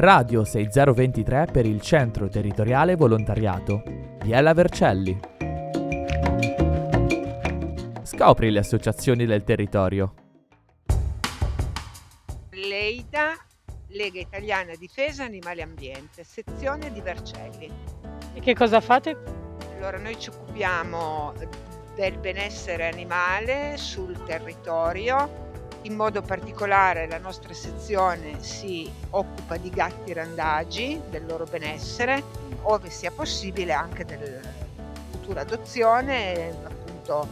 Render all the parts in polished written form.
Radio 6023 per il Centro Territoriale Volontariato. Biella Vercelli. Scopri le associazioni del territorio. Leida, Lega Italiana Difesa Animali Ambiente, sezione di Vercelli. E che cosa fate? Allora, noi ci occupiamo del benessere animale sul territorio, in modo particolare la nostra sezione si occupa di gatti randagi, del loro benessere, ove sia possibile anche della futura adozione, appunto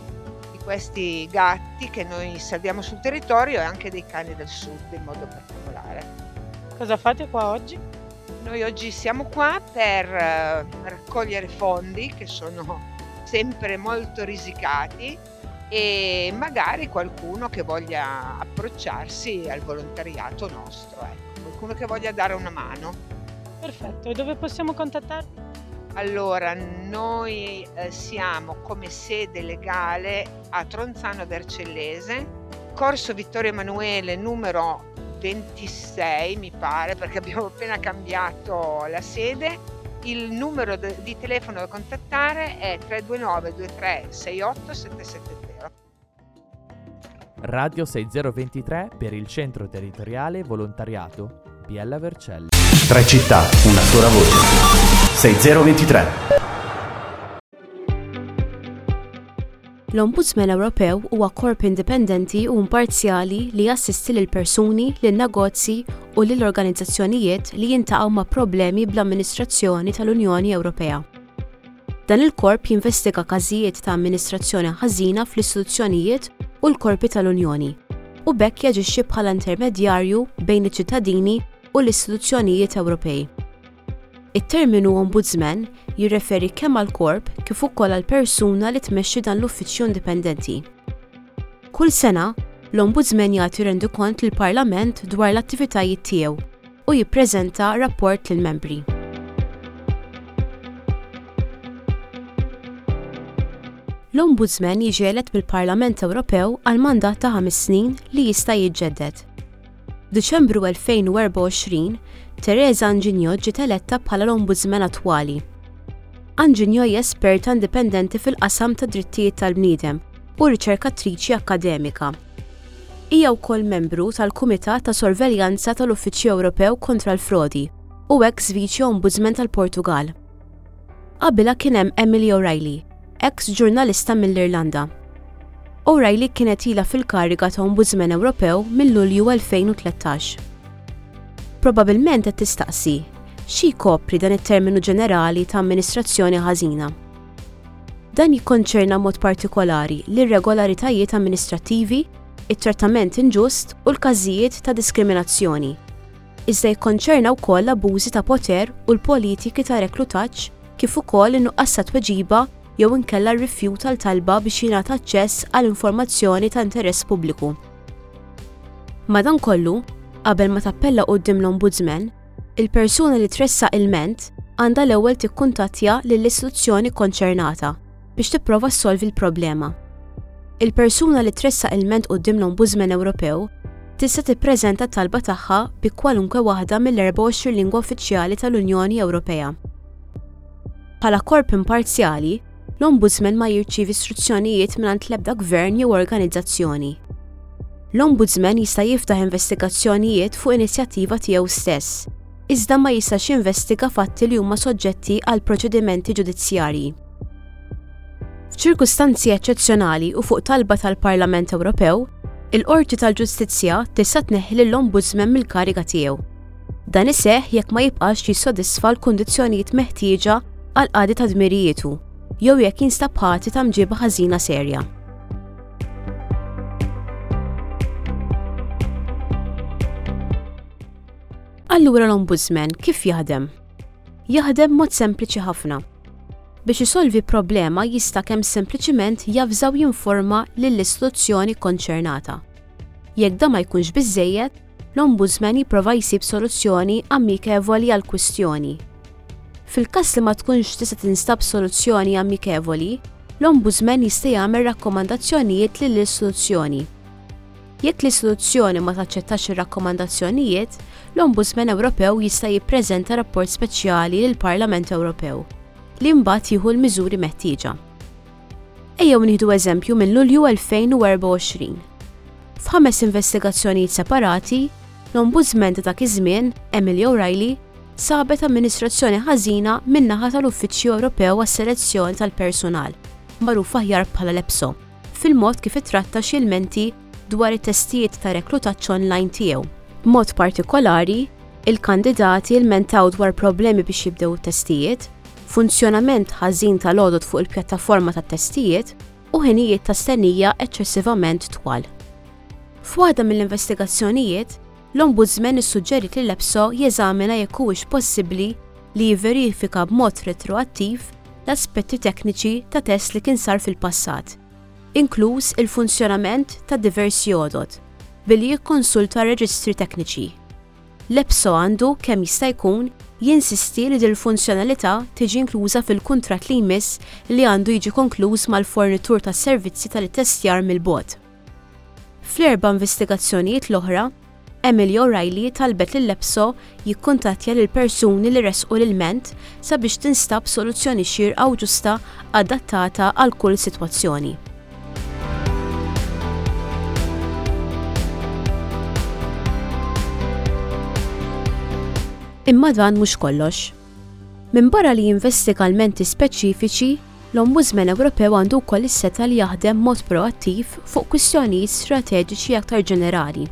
di questi gatti che noi salviamo sul territorio e anche dei cani del sud in modo particolare. Cosa fate qua oggi? Noi oggi siamo qua per raccogliere fondi che sono sempre molto risicati e magari qualcuno che voglia approcciarsi al volontariato nostro, ecco, qualcuno che voglia dare una mano. Perfetto, e dove possiamo contattarvi? Allora, noi siamo come sede legale a Tronzano Vercellese, Corso Vittorio Emanuele numero 26 mi pare, perché abbiamo appena cambiato la sede. Il numero di telefono da contattare è 329 23 68 770. Radio 6023 per il Centro Territoriale Volontariato Biella Vercelli. Tre città, una sola voce. 6023. L-Ombudsman Ewropew huwa korp indipendenti u imparzjali li jassisti lil persuni, lil negozji u lil organizzazzjonijiet li jintaqgħu ma' problemi bl-amministrazzjoni tal-Unjoni Ewropea. Dan il-korp jinvestiga każijiet ta' amministrazzjoni ħażina fl-istituzzjonijiet u l-korpi tal-Unjoni, u b'hekk jaġixxi bħala intermedjarju bejn iċ-ċittadini u l-istituzzjonijiet Ewropej. It-terminu ombudsman jirreferi kemm għall-korp kif ukoll għall-persuna li tmexxi dan l-uffiċċju indipendenti. Kull sena, l-Ombudsman jagħti rendikont lill-Parlament dwar l-attivitajiet tiegħu u jippreżenta rapport lill-membri. L-Ombudsman jiġi elett mill-Parlament Ewropew għal mandat ta' ħames snin li jista' jiġġedded. F'Diċembru 2024, Teresa Anginio ġiet eletta bħala l-Ombudsman attwali. Anginio hija esperta indipendenti fil-qasam tad-drittijiet tal-bniedem u riċerkatriċi akkademika. Hija wkoll membru tal-Kumitat ta' Sorveljanza tal-Uffiċċju Ewropew Kontra l-Frodi u eks Viċi Ombudsman tal-Portugall. Qabilha kien hemm Emily O'Reilly, eks ġurnalista mill-Irlanda. O'Reilly kienet ilha fil-kariga ta' Ombudsman Ewropew minn Lulju 2013. Probabilment qed tistaqsi, xi jkopri dan it-terminu ġenerali ta' amministrazzjoni ħażina? Dan jikkonċerna mod partikolari l-irregolaritajiet amministrattivi, it-trattament inġust u l-każijiet ta' diskriminazzjoni. Iżda jikkonċerna wkoll l-abbużi ta' poter u l-politiki ta' reklutaġġ kif ukoll in-nuqqas ta' tweġiba jew inkella r-rifjut għal talba biex jingħata aċċess għal informazzjoni ta' interess pubbliku. Madankollu, qabel ma tappella quddiem l-Ombudsman, il-persuna li tressaq ilment għandha l-ewwel tikkuntattja lill-istituzzjoni kkonċernata biex tipprova ssolvi l-problema. Il-persuna li tressaq ilment quddiem l-Ombudsman Ewropew tista' tippreżenta t-talba tagħha bi kwalunkwe waħda mill-24 lingwa uffiċjali tal-Unjoni Ewropea. Bħala korp imparzjali, l-Ombudsman ma jirċievi istruzzjonijiet mingħand l-ebda gvern jew organizzazzjoni. L-Ombudsman jista' jiftaħ investigazzjonijiet fuq inizjattiva tiegħu stess, iżda ma jistax jinvestiga fatti li huma soġġetti għal proċedimenti ġudizzjarji. F'ċirkustanzi eċċezzjonali u fuq talba tal-Parlament Ewropew, il-Qorti tal-Ġustizzja tista' tneħħi lill-Ombudsman mill-kariga tiegħu. Dan iseħħ jekk ma jibqax jissodisfa l-kundizzjonijiet meħtieġa għall-qadi ta' dmirijietu jew jekk jinstab ħati ta' mġiba ħażina serja. Allura l-Ombudsman kif jaħdem? Jaħdem mod sempliċi ħafna. Biex isolvi problema jista' kemm sempliċiment javża u jinforma lill-istituzzjoni kkonċernata. Jekk dan ma jkunx biżżejjed, l-Ombudsman jipprova jsib soluzzjoni amikevoli għall-kwistjoni. Fil-każ li ma tkunx tista' tinstab soluzzjoni amikevoli, l-Ombudsman jista' jagħmel rakkomandazzjonijiet lill-istituzzjoni. Jekk l-istituzzjoni ma taċċettax ir-rakkomandazzjonijiet, l-Ombudsman Ewropew jista' jippreżenta rapport speċjali lill-Parlament Ewropew, li mbagħad jieħu l-miżuri meħtieġa. Ejjew nieħdu eżempju minn Lulju 2024. F'ħames investigazzjonijiet separati, l-Ombudsman ta' dak iż-żmien, Emily O'Reilly, sabet amministrazzjoni ħażina min-naħa tal-Uffiċċju Ewropew għas-Selezzjoni tal-Persunal, magħruf aħjar bħala l-EPSO, fil-mod kif ittratta xi ilmenti dwar it-testijiet ta' reklutaġġ online tiegħu. B'mod partikolari, il-kandidati lmentaw dwar problemi biex jibdew it-testijiet, funzjonament ħażin tal-għodod fuq il-pjattaforma tat-testijiet u ħinijiet ta' stennija eċċessivament twal. F'waħda mill-investigazzjonijiet, l-Ombudsman issuġġeriet lill-EPSO jeżamina jekk huwiex possibbli li jivverifika b'mod retroattiv l-aspetti tekniċi ta' test li kien sar fil-passat, inkluż il-funzjonament ta' diversi għodod, billi jikkonsulta reġistri tekniċi. L-EPSO għandu, kemm jista' jkun, jinsisti li dil-funzjonalità tiġi inkluża fil-kuntratt li jmiss li għandu jiġi konkluż mal-fornitur tas-servizzi tal-ittestjar mill-bogħod. Fl-erba' investigazzjonijiet l-oħra, Emily O'Reilly talbet lill-EPSO jikkuntattja lill-persuni li ressqu l-ilment sabiex tinstab soluzzjoni xierqa u ġusta adattata għal kull sitwazzjoni. Imma dan mhux kollox. Minbarra li jinvestiga lmenti speċifiċi, l-Ombudsman Ewropew għandu wkoll is-setgħa li jaħdem b'mod proattiv fuq kwistjonijiet strateġiċi aktar ġenerali.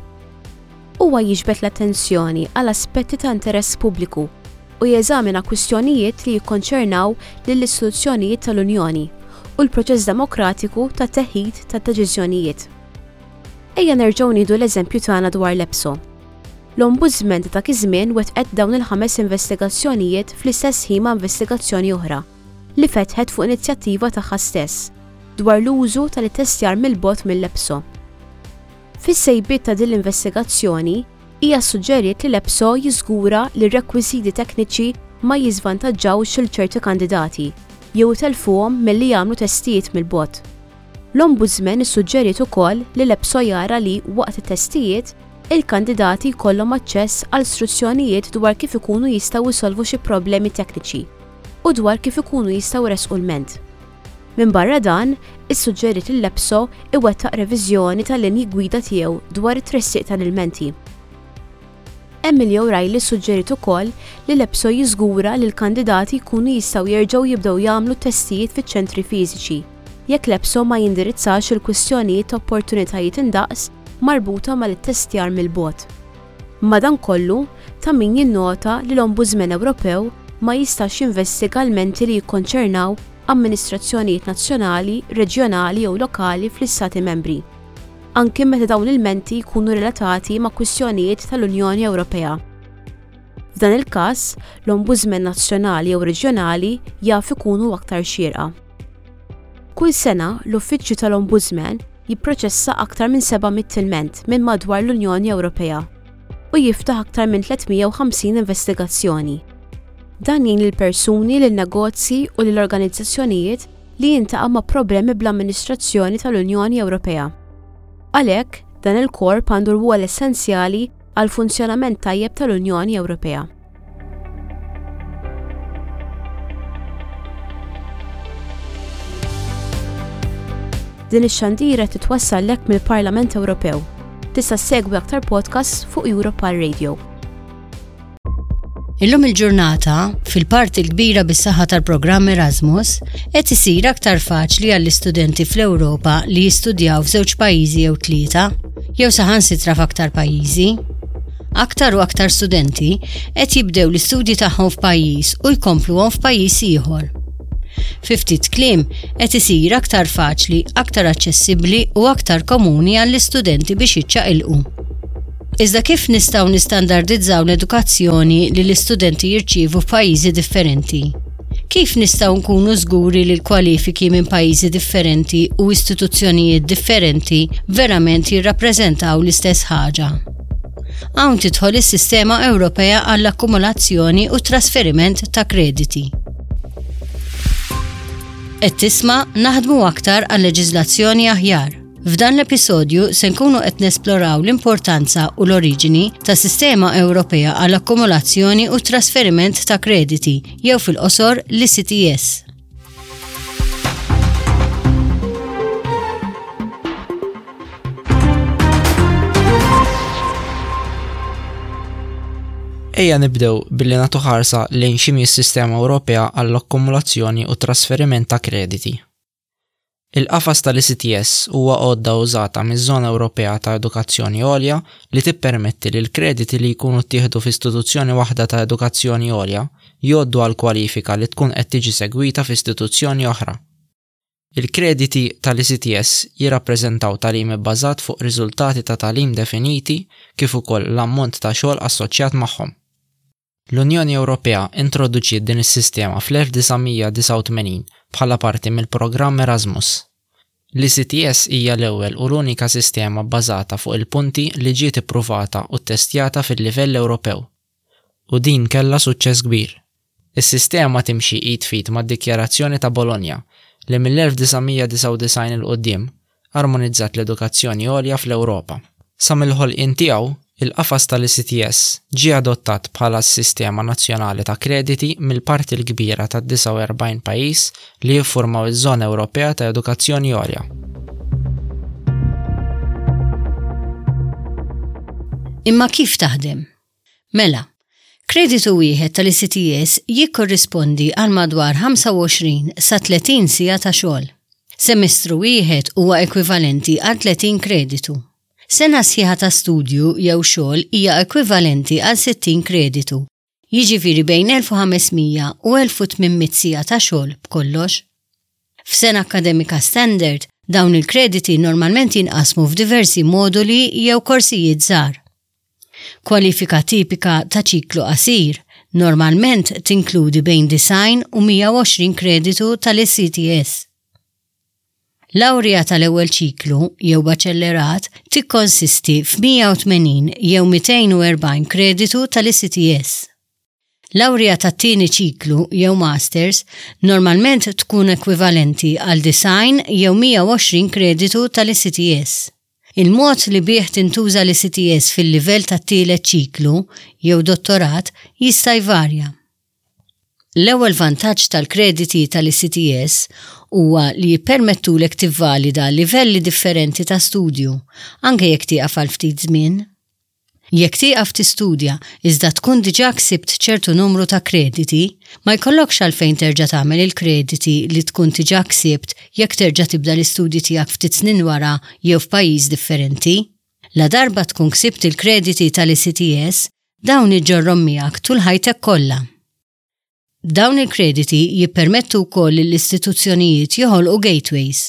Huwa jiġbed l-attenzjoni għal aspetti ta' interess pubbliku u jeżamina kwistjonijiet li jikkonċernaw lill-istituzzjonijiet tal-Unjoni u l-proċess demokratiku ta' teħid ta' deċiżjonijiet. Ejja nerġgħu nieħdu l-eżempju tagħna dwar l-EPSO. L-Ombudsman ta' dak iż-żmien wettqet dawn il-ħames investigazzjonijiet fl-istess ħin ma' investigazzjoni oħra, li fetħet fuq inizjattiva tagħha stess, dwar l-użu tal-ittestjar mill-bogħod mill-EPSO. Fis-sejbiet ta' din l-investigazzjoni, hija ssuġġeriet li l-EPSO jiżgura li r-rekwiżiti tekniċi ma jiżvantaġġawx lil ċerti kandidati jew itellfuhom milli jagħmlu testijiet mill-bogħod. L-Ombudsman issuġġeriet ukoll li l-EPSO jara li, waqt it-testijiet, il-kandidati jkollhom aċċess għal struzzjonijiet dwar kif ikunu jistgħu jsolvu xi problemi tekniċi u dwar kif ikunu jistgħu jressqu lment. Minbarra dan, issuġġeriet li l-EPSO iwettaq reviżjoni tal-linji gwida tiegħu dwar it-tressiq tal-ilmenti. Emily O'Reilly ssuġġeriet ukoll li l-EPSO jiżgura li l-kandidati jkunu jistgħu jerġgħu jibdew jagħmlu t-testijiet fiċ-ċentri fiżiċi jekk l-EPSO ma jindirizzax il-kwistjonijiet ta' opportunitajiet indaqs marbuta mal-ittestjar mill-bogħod. Madankollu, ta' min jinnota li l-Ombudsman Ewropew ma jistax jinvestiga lmenti li jikkonċernaw amministrazzjonijiet nazzjonali, reġjonali jew lokali fl-Istati Membri, anki meta dawn l-ilmenti jkunu relatati ma' kwistjonijiet tal-Unjoni Ewropea. F'dan il-każ, l-ombudsman nazzjonali jew reġjonali jaf ikunu aktar xierqa. Kull sena, l-Uffiċċju tal-Ombudsman jipproċessa aktar minn 700 ilment minn madwar l-Unjoni Ewropea u jiftaħ aktar minn 350 investigazzjoni. Dan jgħin lill-persuni, lin-negozji u lill-organizzazzjonijiet li jiltaqgħu ma' problemi bl-amministrazzjoni tal-Unjoni Ewropea. Għalhekk, dan il-korp għandu rwol essenzjali għall-funzjonament tajjeb tal-Unjoni Ewropea. Din ix-xandira titwassallek mill-Parlament Ewropew. Tista' ssegwi aktar podcasts fuq Europal Radio. Illum il-ġurnata, fil-parti l-kbira bis-saħħa tal-programm Erasmus, qed isir aktar faċli għall-istudenti fl-Ewropa li jistudjaw f'żewġ pajjiżi jew tlieta, jew saħansitra f'aktar pajjiżi. Aktar u aktar studenti qed jibdew l-istudji tagħhom f'pajjiż u jkompluhom f'pajjiż ieħor. Fi ftit kliem, qed isir aktar faċli, aktar aċċessibbli u aktar komuni għall-istudenti biex jiċċaqilqu. Iżda kif nistgħu nistandardizzaw l-edukazzjoni li l-istudenti jirċievu f'pajjiżi differenti? Kif nistgħu nkunu żguri li l-kwalifiki minn pajjiżi differenti u istituzzjonijiet differenti verament jirrappreżentaw l-istess ħaġa? Hawn tidħol is-Sistema Ewropea għall-Akkumulazzjoni u t-Trasferiment ta' Krediti. Qed tisma' Naħdmu Aktar għal Leġiżlazzjoni Aħjar. F'dan l-episodju se nkunu qed nesploraw l-importanza u l-oriġini ta' sistema Ewropea għall akkumulazzjoni u trasferiment ta' krediti jew fil-qosor l-ICTS. Ejja nibdew billi nagħtu ħarsa lejn x'inhi s-sistema Ewropea għall-akkumulazzjoni u trasferiment ta' krediti. Il-qafas tal-ECTS huwa għodda użata miż-Żona Ewropea ta' Edukazzjoni Għolja li tippermetti li l-krediti li jkunu ttieħdu f'istituzzjoni waħda ta' edukazzjoni għolja jgħoddu għal kwalifika li tkun qed tiġi segwita f'istituzzjoni oħra. Il-krediti tal-ECTS jirrappreżentaw tagħlim ibbażat fuq riżultati ta' tagħlim definiti kif ukoll l-ammont ta' xogħol assoċjat magħhom. L-Unjoni Ewropea introduċiet din is-sistema fl-1989 bħala parti mill-programm Erasmus. L-ECTS hija l-ewwel u l-unika sistema bbażata fuq il-punti li ġiet ippruvata u ttestjata fil-livell Ewropew. U din kellha suċċess kbir. Is-sistema timxi id f'id mad-Dikjarazzjoni ta' Bolonja, li mill-1999 'il quddiem armonizzat l-edukazzjoni għolja fl-Ewropa. Sa mill-ħolqien tiegħu, il-qafas tal-ECTS ġie adottat bħala s-sistema nazzjonali ta' krediti mill-parti l-kbira tad-49 pajjiż li jiffurmaw iż-Żona Ewropea ta' Edukazzjoni Għolja. Imma kif taħdem? Mela, kreditu wieħed tal-ECTS jikkorrispondi għal madwar 25 sa 30 siegħa ta' xogħol. Semestru wieħed huwa ekwivalenti għal 30 kreditu. Sena sħiħa ta' studju jew xogħol hija ekwivalenti għal 60 kreditu, jiġifieri bejn 1500 u 1800 siegħa ta' xogħol b'kollox. F'sena akkademika standard, dawn il-krediti normalment jinqasmu f'diversi moduli jew korsijiet żgħar. Kwalifika tipika ta' ċiklu qasir normalment tinkludi bejn 90 u 120 kreditu tal-ECTS. Lawrija tal-ewwel ċiklu jew baċellerat tikkonsisti f'180 jew 240 kreditu tal-ECTS. Lawrija tat-tieni ċiklu jew masters normalment tkun ekwivalenti għal 90 jew 120 kreditu tal-ECTS. Il-mod li bih tintuża l-ECTS fil-livell tat-tielet ċiklu jew dottorat jista' jvarja. L-ewwel vantaġġ tal-krediti tal-ECTS huwa li jippermettulek tivvalida livelli differenti ta' studju, anke jekk tieqaf għal ftit żmien. Jekk tieqaf tistudja iżda tkun diġà ksibt ċertu numru ta' krediti, ma jkollokx għalfejn terġa' tagħmel il-krediti li tkun diġà ksibt jekk terġa' tibda l-istudji tiegħek ftit snin wara jew f'pajjiż differenti. Ladarba tkun ksibt il-krediti tal-ECTS, dawn iġġorrhom miegħek tul ħajtek kollha. Dawn il-krediti jippermettu wkoll lill-istituzzjonijiet joħolqu gateways.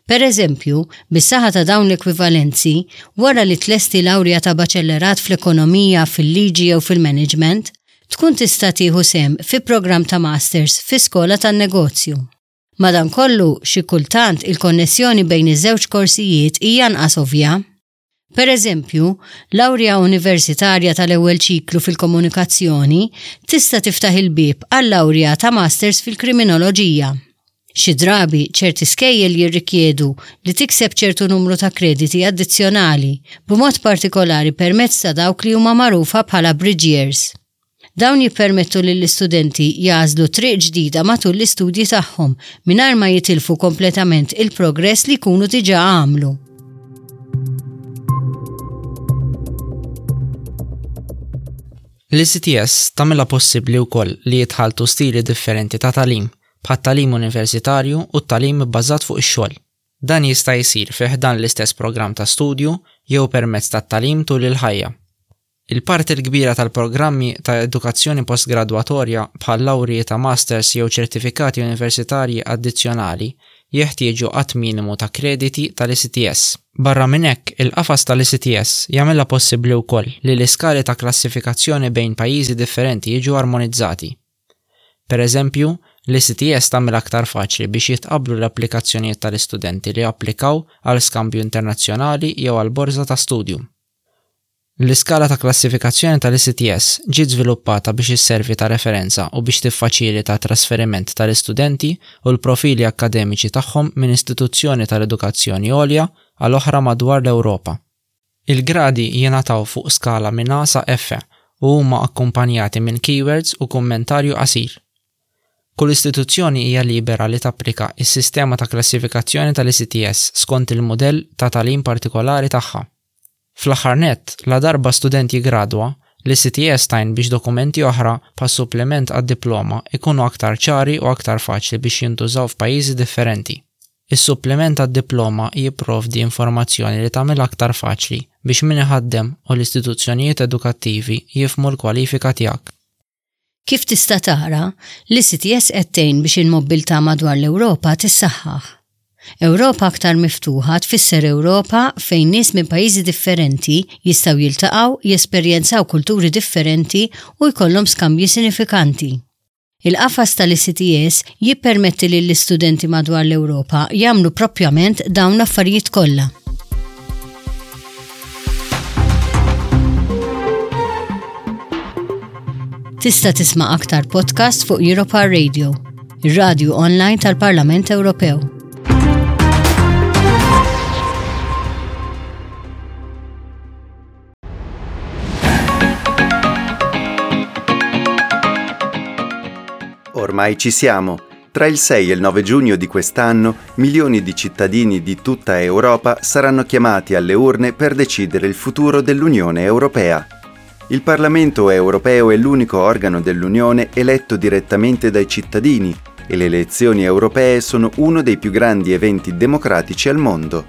Per eżempju, bis-saħħa ta' dawn l-ekwivalenzi, wara li tlesti lawrja ta' baċellerat fl-ekonomija, fil-liġi jew fil-management, tkun tista' tieħu sehem fi programm ta' masters fi skola tan-negozju. Madankollu, xi kultant il-konnessjoni bejn iż-żewġ korsijiet hija anqas ovvja. Per eżempju, lawrja universitarja tal-ewwel ċiklu fil-komunikazzjoni tista' tiftaħ il-bieb għal lawrja ta' masters fil-kriminoloġija. Xi drabi, ċerti skejjel jirrikjedu li tikseb ċertu numru ta' krediti addizzjonali, b'mod partikolari permezz ta' dawk li huma magħrufa bħala bridge years. Dawn jippermettu lill-istudenti jagħżlu triq ġdida matul l-istudji tagħhom mingħajr ma jitilfu kompletament il-progress li jkunu diġà għamlu. L-ECTS tagħmilha possibbli wkoll li jitħalltu stili differenti ta' tagħlim, bħat-tagħlim universitarju u t-tagħlim ibbażat fuq ix-xogħol. Dan jista' jsir fi ħdan l-istess programm ta' studju jew permezz tat-tagħlim tul il-ħajja. Il-parti l-kbira tal-programmi ta' edukazzjoni postgradwatorja bħal lawrji ta' masters jew ċertifikati universitarji addizzjonali jeħtieġu għadd minimu ta' krediti tal-ECTS. Barra minn hekk, il-qafas tal-ECTS jagħmilha possibbli wkoll li l-iskali ta' klassifikazzjoni bejn pajjiżi differenti jiġu armonizzati. Pereżempju, l-ECTS tagħmilha aktar faċli biex jitqabblu l-applikazzjonijiet tal-istudenti li applikaw għal skambju internazzjonali jew għal borża ta' studju. L-iskala ta' klassifikazzjoni tal-ECTS ġiet żviluppata biex isservi ta' referenza u biex tiffaċilita t-trasferiment tal-istudenti u l-profili akkademiċi tagħhom minn istituzzjoni tal-edukazzjoni għolja għal oħra madwar l-Ewropa. Il-gradi jingħataw fuq skala minn A sa F u huma akkumpanjati minn keywords u kummentarju qasir. Kull istituzzjoni hija libera li tapplika s-sistema ta' klassifikazzjoni tal-ECTS skont il-mudell ta' tagħlim partikolari tagħha. Fl-aħħar nett, ladarba student jiggradwa, l-ECTS tgħin biex dokumenti oħra, bħas-suppliment għad-diploma, ikunu aktar ċari u aktar faċli biex jintużaw f'pajjiżi differenti. Is-suppliment għad-diploma jipprovdi informazzjoni li tagħmilha aktar faċli biex min iħaddem u l-istituzzjonijiet edukattivi jifhmu l-kwalifika tiegħek. Kif tista' tara, l-ECTS qed tgħin biex il-mobbiltà madwar l-Ewropa tissaħħaħ. Ewropa aktar miftuħa tfisser Ewropa fejn nies minn pajjiżi differenti jistgħu jiltaqgħu, jesperjenzaw kulturi differenti u jkollhom skambji sinifikanti. Il-qafas tal-ECTS jippermetti lill-istudenti madwar l-Ewropa jagħmlu proprjament dawn l-affarijiet kollha. Tista' tisma' aktar podcast fuq Europa Radio, ir-radju online tal-Parlament Ewropew. Ormai ci siamo. Tra il 6 e il 9 giugno di quest'anno, milioni di cittadini di tutta Europa saranno chiamati alle urne per decidere il futuro dell'Unione Europea. Il Parlamento europeo è l'unico organo dell'Unione eletto direttamente dai cittadini e le elezioni europee sono uno dei più grandi eventi democratici al mondo.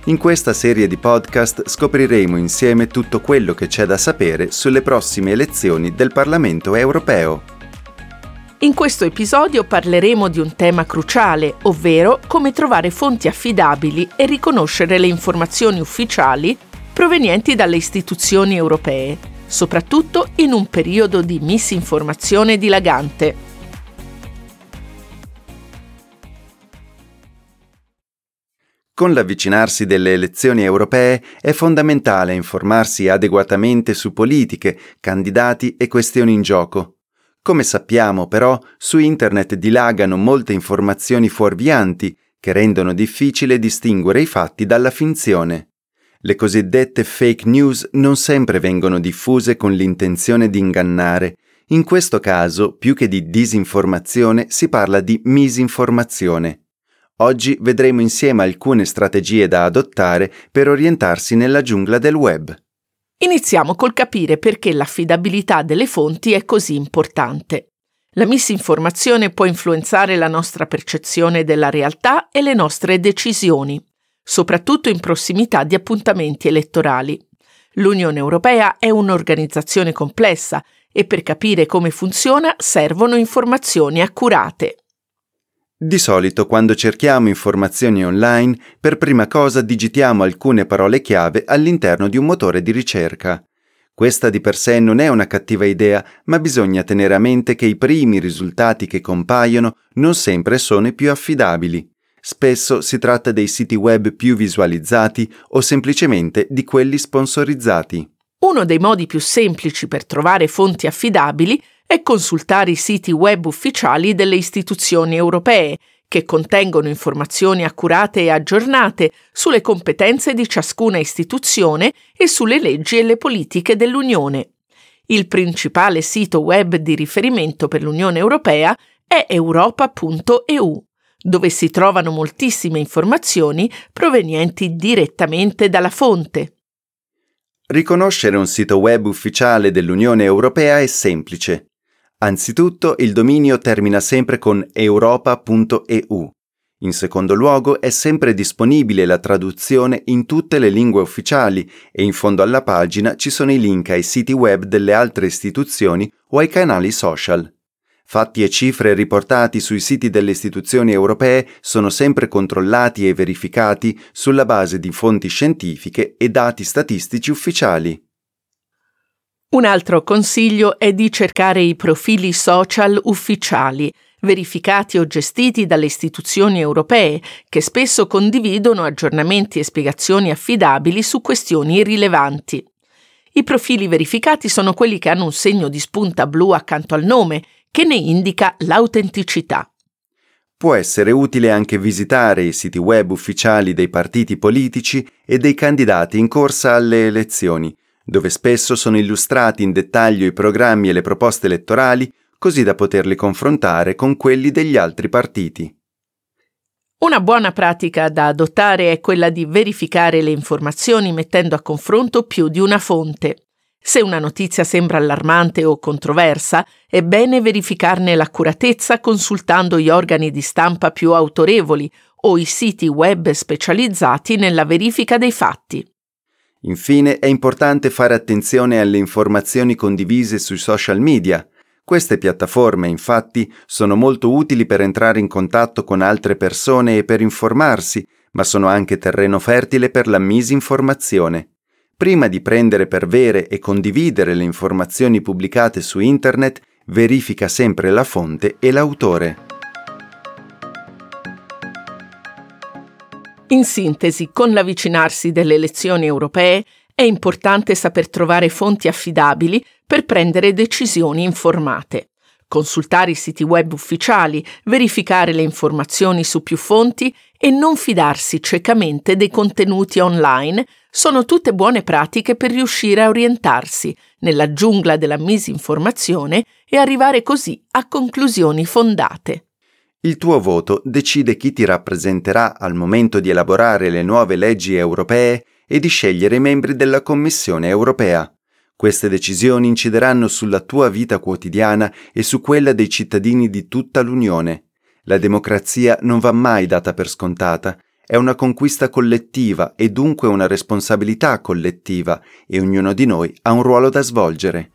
In questa serie di podcast scopriremo insieme tutto quello che c'è da sapere sulle prossime elezioni del Parlamento europeo. In questo episodio parleremo di un tema cruciale, ovvero come trovare fonti affidabili e riconoscere le informazioni ufficiali provenienti dalle istituzioni europee, soprattutto in un periodo di misinformazione dilagante. Con l'avvicinarsi delle elezioni europee è fondamentale informarsi adeguatamente su politiche, candidati e questioni in gioco. Come sappiamo però, su internet dilagano molte informazioni fuorvianti che rendono difficile distinguere i fatti dalla finzione. Le cosiddette fake news non sempre vengono diffuse con l'intenzione di ingannare. In questo caso, più che di disinformazione, si parla di misinformazione. Oggi vedremo insieme alcune strategie da adottare per orientarsi nella giungla del web. Iniziamo col capire perché l'affidabilità delle fonti è così importante. La misinformazione può influenzare la nostra percezione della realtà e le nostre decisioni, soprattutto in prossimità di appuntamenti elettorali. L'Unione Europea è un'organizzazione complessa e per capire come funziona servono informazioni accurate. Di solito quando cerchiamo informazioni online, per prima cosa digitiamo alcune parole chiave all'interno di un motore di ricerca. Questa di per sé non è una cattiva idea, ma bisogna tenere a mente che i primi risultati che compaiono non sempre sono i più affidabili. Spesso si tratta dei siti web più visualizzati o semplicemente di quelli sponsorizzati. Uno dei modi più semplici per trovare fonti affidabili è consultare i siti web ufficiali delle istituzioni europee, che contengono informazioni accurate e aggiornate sulle competenze di ciascuna istituzione e sulle leggi e le politiche dell'Unione. Il principale sito web di riferimento per l'Unione Europea è europa.eu, dove si trovano moltissime informazioni provenienti direttamente dalla fonte. Riconoscere un sito web ufficiale dell'Unione Europea è semplice. Anzitutto il dominio termina sempre con europa.eu. In secondo luogo è sempre disponibile la traduzione in tutte le lingue ufficiali e in fondo alla pagina ci sono i link ai siti web delle altre istituzioni o ai canali social. Fatti e cifre riportati sui siti delle istituzioni europee sono sempre controllati e verificati sulla base di fonti scientifiche e dati statistici ufficiali. Un altro consiglio è di cercare i profili social ufficiali, verificati o gestiti dalle istituzioni europee, che spesso condividono aggiornamenti e spiegazioni affidabili su questioni rilevanti. I profili verificati sono quelli che hanno un segno di spunta blu accanto al nome, che ne indica l'autenticità. Può essere utile anche visitare i siti web ufficiali dei partiti politici e dei candidati in corsa alle elezioni, dove spesso sono illustrati in dettaglio i programmi e le proposte elettorali, così da poterli confrontare con quelli degli altri partiti. Una buona pratica da adottare è quella di verificare le informazioni mettendo a confronto più di una fonte. Se una notizia sembra allarmante o controversa, è bene verificarne l'accuratezza consultando gli organi di stampa più autorevoli o i siti web specializzati nella verifica dei fatti. Infine, è importante fare attenzione alle informazioni condivise sui social media. Queste piattaforme, infatti, sono molto utili per entrare in contatto con altre persone e per informarsi, ma sono anche terreno fertile per la misinformazione. Prima di prendere per vere e condividere le informazioni pubblicate su internet, verifica sempre la fonte e l'autore. In sintesi, con l'avvicinarsi delle elezioni europee, è importante saper trovare fonti affidabili per prendere decisioni informate. Consultare i siti web ufficiali, verificare le informazioni su più fonti e non fidarsi ciecamente dei contenuti online sono tutte buone pratiche per riuscire a orientarsi nella giungla della misinformazione e arrivare così a conclusioni fondate. Il tuo voto decide chi ti rappresenterà al momento di elaborare le nuove leggi europee e di scegliere i membri della Commissione europea. Queste decisioni incideranno sulla tua vita quotidiana e su quella dei cittadini di tutta l'Unione. La democrazia non va mai data per scontata, è una conquista collettiva e dunque una responsabilità collettiva e ognuno di noi ha un ruolo da svolgere.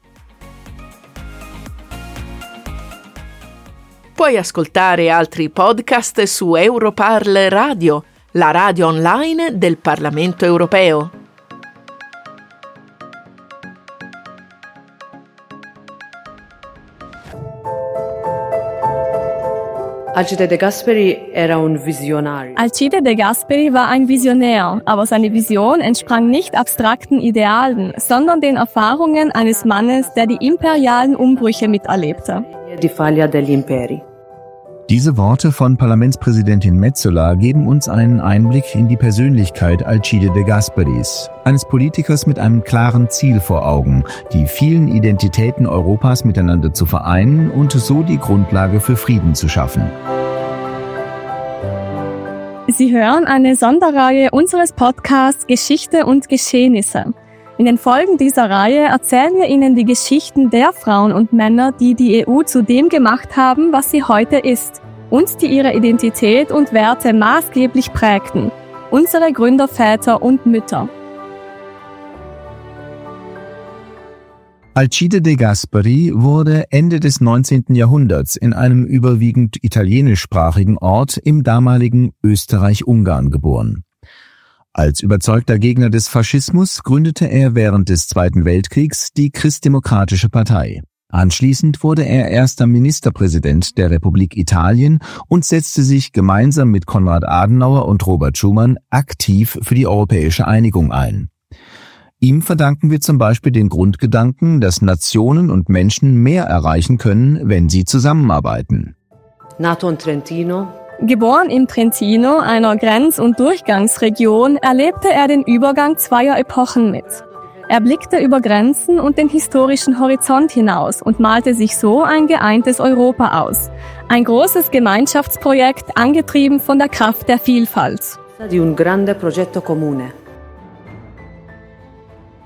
Puoi ascoltare altri podcast su Europarl Radio, la radio online del Parlamento europeo. Alcide De Gasperi era un visionario. Alcide De Gasperi war ein Visionär, aber seine Vision entsprang nicht abstrakten Idealen, sondern den Erfahrungen eines Mannes, der die imperialen Umbrüche miterlebte. Di faglia degli imperi. Diese Worte von Parlamentspräsidentin Metsola geben uns einen Einblick in die Persönlichkeit Alcide de Gasperis, eines Politikers mit einem klaren Ziel vor Augen, die vielen Identitäten Europas miteinander zu vereinen und so die Grundlage für Frieden zu schaffen. Sie hören eine Sonderreihe unseres Podcasts Geschichte und Geschehnisse. In den Folgen dieser Reihe erzählen wir Ihnen die Geschichten der Frauen und Männer, die die EU zu dem gemacht haben, was sie heute ist und die ihre Identität und Werte maßgeblich prägten. Unsere Gründerväter und Mütter. Alcide de Gasperi wurde Ende des 19. Jahrhunderts in einem überwiegend italienischsprachigen Ort im damaligen Österreich-Ungarn geboren. Als überzeugter Gegner des Faschismus gründete er während des Zweiten Weltkriegs die Christdemokratische Partei. Anschließend wurde er erster Ministerpräsident der Republik Italien und setzte sich gemeinsam mit Konrad Adenauer und Robert Schuman aktiv für die europäische Einigung ein. Ihm verdanken wir zum Beispiel den Grundgedanken, dass Nationen und Menschen mehr erreichen können, wenn sie zusammenarbeiten. Nato in Trentino, Geboren im Trentino, einer Grenz- und Durchgangsregion, erlebte er den Übergang zweier Epochen mit. Er blickte über Grenzen und den historischen Horizont hinaus und malte sich so ein geeintes Europa aus. Ein großes Gemeinschaftsprojekt, angetrieben von der Kraft der Vielfalt. di un grande progetto comune.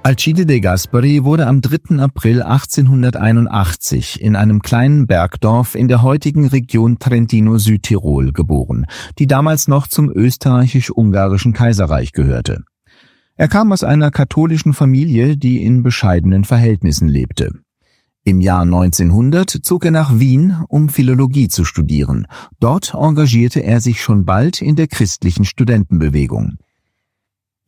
Alcide de Gasperi wurde am 3. April 1881 in einem kleinen Bergdorf in der heutigen Region Trentino-Südtirol geboren, die damals noch zum österreichisch-ungarischen Kaiserreich gehörte. Er kam aus einer katholischen Familie, die in bescheidenen Verhältnissen lebte. Im Jahr 1900 zog er nach Wien, um Philologie zu studieren. Dort engagierte er sich schon bald in der christlichen Studentenbewegung.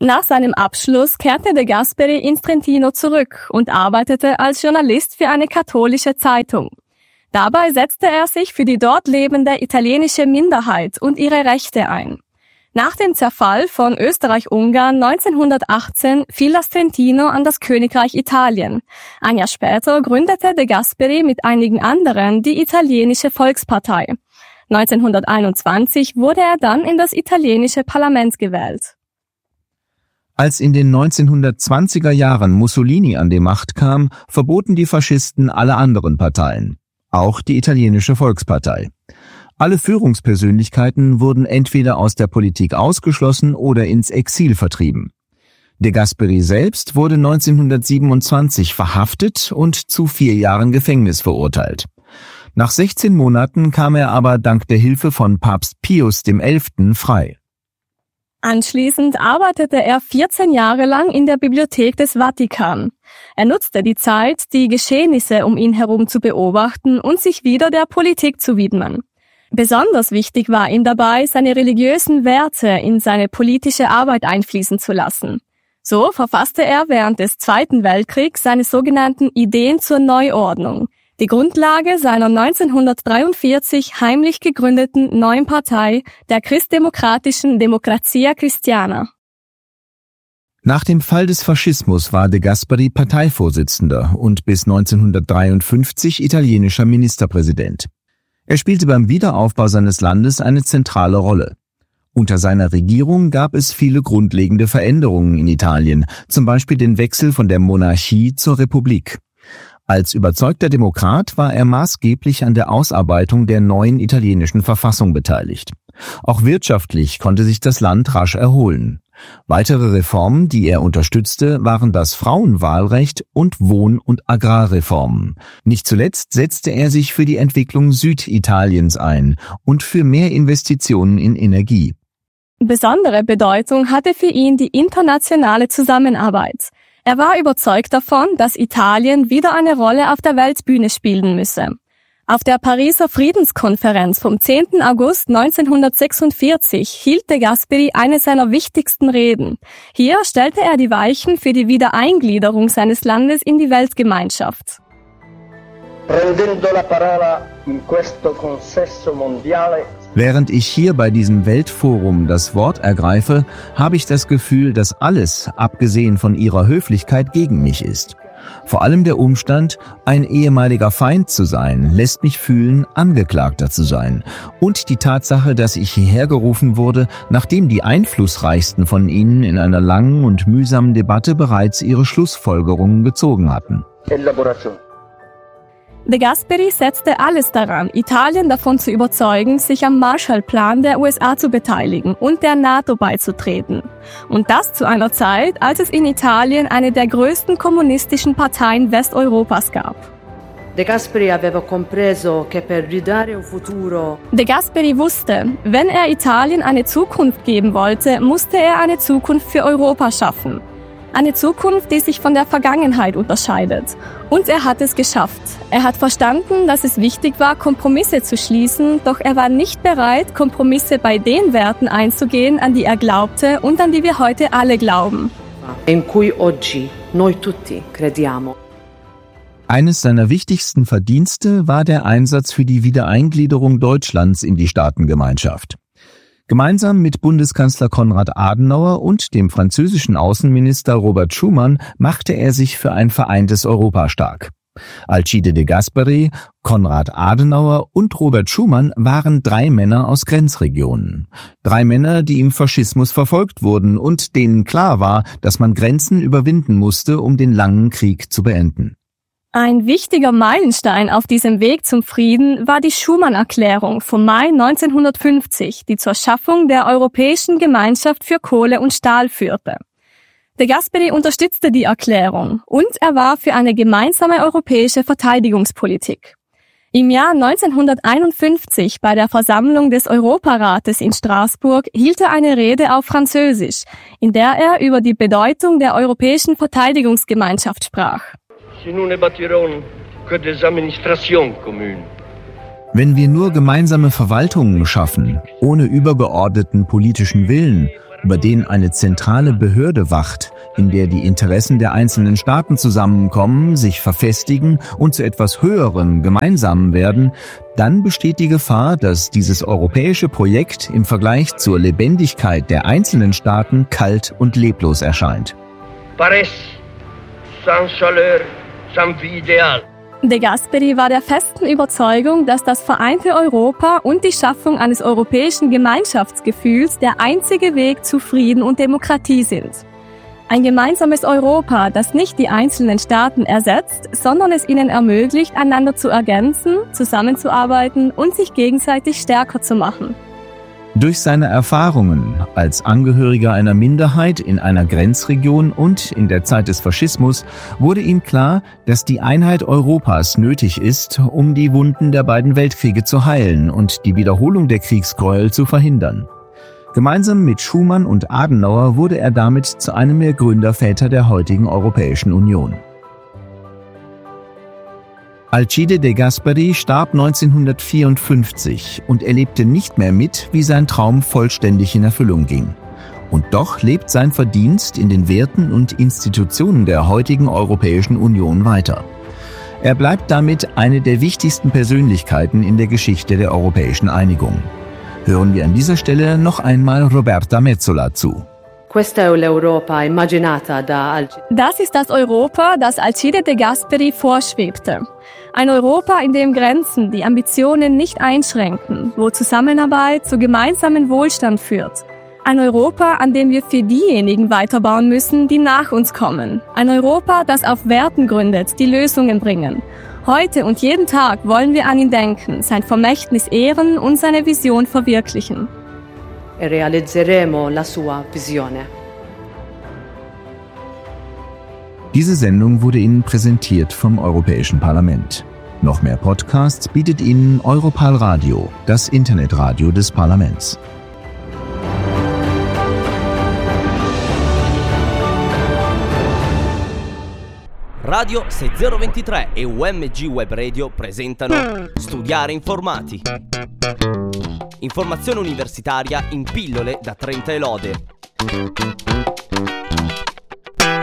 Nach seinem Abschluss kehrte De Gasperi ins Trentino zurück und arbeitete als Journalist für eine katholische Zeitung. Dabei setzte er sich für die dort lebende italienische Minderheit und ihre Rechte ein. Nach dem Zerfall von Österreich-Ungarn 1918 fiel das Trentino an das Königreich Italien. Ein Jahr später gründete De Gasperi mit einigen anderen die italienische Volkspartei. 1921 wurde er dann in das italienische Parlament gewählt. Als in den 1920er Jahren Mussolini an die Macht kam, verboten die Faschisten alle anderen Parteien, auch die italienische Volkspartei. Alle Führungspersönlichkeiten wurden entweder aus der Politik ausgeschlossen oder ins Exil vertrieben. De Gasperi selbst wurde 1927 verhaftet und zu vier Jahren Gefängnis verurteilt. Nach 16 Monaten kam er aber dank der Hilfe von Papst Pius XI. frei. Anschließend arbeitete er 14 Jahre lang in der Bibliothek des Vatikan. Er nutzte die Zeit, die Geschehnisse um ihn herum zu beobachten und sich wieder der Politik zu widmen. Besonders wichtig war ihm dabei, seine religiösen Werte in seine politische Arbeit einfließen zu lassen. So verfasste er während des Zweiten Weltkriegs seine sogenannten Ideen zur Neuordnung, die Grundlage seiner 1943 heimlich gegründeten neuen Partei, der christdemokratischen Democrazia Cristiana. Nach dem Fall des Faschismus war De Gasperi Parteivorsitzender und bis 1953 italienischer Ministerpräsident. Er spielte beim Wiederaufbau seines Landes eine zentrale Rolle. Unter seiner Regierung gab es viele grundlegende Veränderungen in Italien, zum Beispiel den Wechsel von der Monarchie zur Republik. Als überzeugter Demokrat war er maßgeblich an der Ausarbeitung der neuen italienischen Verfassung beteiligt. Auch wirtschaftlich konnte sich das Land rasch erholen. Weitere Reformen, die er unterstützte, waren das Frauenwahlrecht und Wohn- und Agrarreformen. Nicht zuletzt setzte er sich für die Entwicklung Süditaliens ein und für mehr Investitionen in Energie. Besondere Bedeutung hatte für ihn die internationale Zusammenarbeit. Er war überzeugt davon, dass Italien wieder eine Rolle auf der Weltbühne spielen müsse. Auf der Pariser Friedenskonferenz vom 10. August 1946 hielt de Gasperi eine seiner wichtigsten Reden. Hier stellte er die Weichen für die Wiedereingliederung seines Landes in die Weltgemeinschaft. Während ich hier bei diesem Weltforum das Wort ergreife, habe ich das Gefühl, dass alles, abgesehen von ihrer Höflichkeit, gegen mich ist. Vor allem der Umstand, ein ehemaliger Feind zu sein, lässt mich fühlen, Angeklagter zu sein. Und die Tatsache, dass ich hierher gerufen wurde, nachdem die einflussreichsten von ihnen in einer langen und mühsamen Debatte bereits ihre Schlussfolgerungen gezogen hatten. De Gasperi setzte alles daran, Italien davon zu überzeugen, sich am Marshallplan der USA zu beteiligen und der NATO beizutreten. Und das zu einer Zeit, als es in Italien eine der größten kommunistischen Parteien Westeuropas gab. De Gasperi aveva compreso che per ridare un futuro De Gasperi wusste, wenn er Italien eine Zukunft geben wollte, musste er eine Zukunft für Europa schaffen. Eine Zukunft, die sich von der Vergangenheit unterscheidet. Und er hat es geschafft. Er hat verstanden, dass es wichtig war, Kompromisse zu schließen, doch er war nicht bereit, Kompromisse bei den Werten einzugehen, an die er glaubte und an die wir heute alle glauben. in cui oggi noi tutti crediamo. Eines seiner wichtigsten Verdienste war der Einsatz für die Wiedereingliederung Deutschlands in die Staatengemeinschaft. Gemeinsam mit Bundeskanzler Konrad Adenauer und dem französischen Außenminister Robert Schuman machte er sich für ein vereintes Europa stark. Alcide de Gasperi, Konrad Adenauer und Robert Schuman waren drei Männer aus Grenzregionen. Drei Männer, die im Faschismus verfolgt wurden und denen klar war, dass man Grenzen überwinden musste, um den langen Krieg zu beenden. Ein wichtiger Meilenstein auf diesem Weg zum Frieden war die Schuman-Erklärung vom Mai 1950, die zur Schaffung der Europäischen Gemeinschaft für Kohle und Stahl führte. De Gasperi unterstützte die Erklärung und er war für eine gemeinsame europäische Verteidigungspolitik. Im Jahr 1951 bei der Versammlung des Europarates in Straßburg hielt er eine Rede auf Französisch, in der er über die Bedeutung der Europäischen Verteidigungsgemeinschaft sprach. Wenn wir nur gemeinsame Verwaltungen schaffen, ohne übergeordneten politischen Willen, über den eine zentrale Behörde wacht, in der die Interessen der einzelnen Staaten zusammenkommen, sich verfestigen und zu etwas Höherem, Gemeinsamen werden, dann besteht die Gefahr, dass dieses europäische Projekt im Vergleich zur Lebendigkeit der einzelnen Staaten kalt und leblos erscheint. Paraissent sans chaleur, sans vie idéale. De Gasperi war der festen Überzeugung, dass das vereinte Europa und die Schaffung eines europäischen Gemeinschaftsgefühls der einzige Weg zu Frieden und Demokratie sind. Ein gemeinsames Europa, das nicht die einzelnen Staaten ersetzt, sondern es ihnen ermöglicht, einander zu ergänzen, zusammenzuarbeiten und sich gegenseitig stärker zu machen. Durch seine Erfahrungen als Angehöriger einer Minderheit in einer Grenzregion und in der Zeit des Faschismus wurde ihm klar, dass die Einheit Europas nötig ist, um die Wunden der beiden Weltkriege zu heilen und die Wiederholung der Kriegsgräuel zu verhindern. Gemeinsam mit Schumann und Adenauer wurde er damit zu einem der Gründerväter der heutigen Europäischen Union. Alcide de Gasperi starb 1954 und erlebte nicht mehr mit, wie sein Traum vollständig in Erfüllung ging. Und doch lebt sein Verdienst in den Werten und Institutionen der heutigen Europäischen Union weiter. Er bleibt damit eine der wichtigsten Persönlichkeiten in der Geschichte der europäischen Einigung. Hören wir an dieser Stelle noch einmal Roberta Metsola zu. Das ist das Europa, das Alcide de Gasperi vorschwebte. Ein Europa, in dem Grenzen die Ambitionen nicht einschränken, wo Zusammenarbeit zu gemeinsamen Wohlstand führt. Ein Europa, an dem wir für diejenigen weiterbauen müssen, die nach uns kommen. Ein Europa, das auf Werten gründet, die Lösungen bringen. Heute und jeden Tag wollen wir an ihn denken, sein Vermächtnis ehren und seine Vision verwirklichen. E realizzeremo la sua visione. Diese Sendung wurde Ihnen präsentiert vom Europäischen Parlament. Noch mehr Podcasts bietet Ihnen Europal Radio, das Internetradio des Parlaments. Radio 6023 e UMG Web Radio presentano Studiare Informati. Informazione universitaria in pillole da 30 e lode.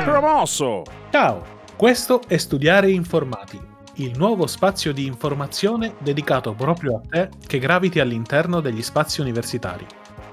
Promosso! Ciao, questo è Studiare Informati, il nuovo spazio di informazione dedicato proprio a te che graviti all'interno degli spazi universitari.